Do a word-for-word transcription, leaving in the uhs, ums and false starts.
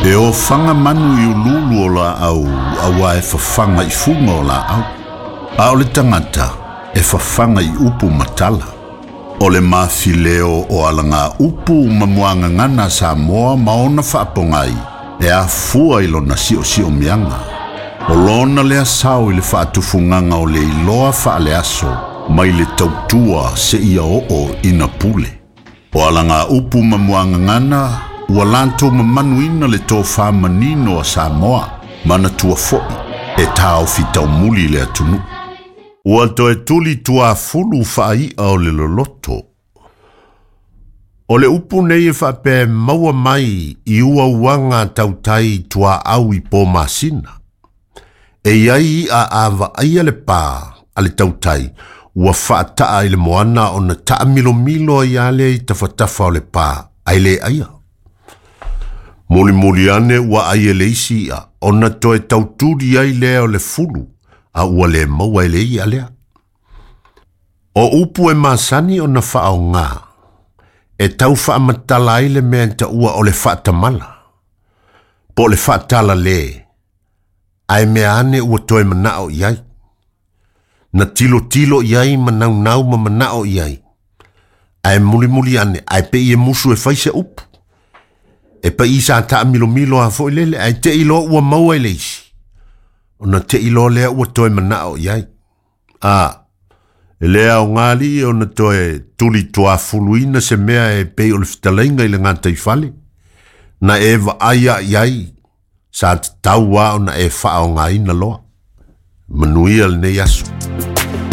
E ofaga manu i ululu o laau auā e fafaga i fuga o laau. A o le tagata e fafaga i upu ma tala. O le mafileo o alaga upu ma muagagana a Samoa ma ona faapogai e afua i lona siosiomiaga. O lona lea sao i le faatufugaga o le iloa faaleaso mai le tautua seia oo ina pule. O alaga upu ma muagagana ua latou mamanuina le tofā manino a Samoa manatua foʻi e taofi taumuli le atunuu. Ua toe tuli tuafulu faai'a o le loloto. O le upu nei e faapea maua mai i uauaga tautai tuaau i po masina. E iai i'a a vaaia le pā a le tautai ua faataa i le moana ona taamilomilo ai lea i tafatafa o le pā ae le aia. Mulimuli ane ua ai e le isi i'a ona toe tautuli ai lea o le fulu a ua le maua e le i'a lea. O upu e masani ona faaogā e tau faamatala ai le mea e taua o le faatamala po o le faatala lē ae mea ane ua toe manao i ai. Na tilotilo i ai ma naunau ma manao i ai. Ae mulimuli ane ae pei e musu e fai se upu. E paʻi sa taamilomilo a foʻi lele ae teʻi loa ua maua i le isi. Ona teʻi loa lea ua toe manao i ai. A, e le aogā alii ona toe tuli tuafuluina se mea e pei o le fetalaiga i le gataifale. Na e vaai ai ai sa tatau a ona e faaogaina loa. Manuia lenei aso.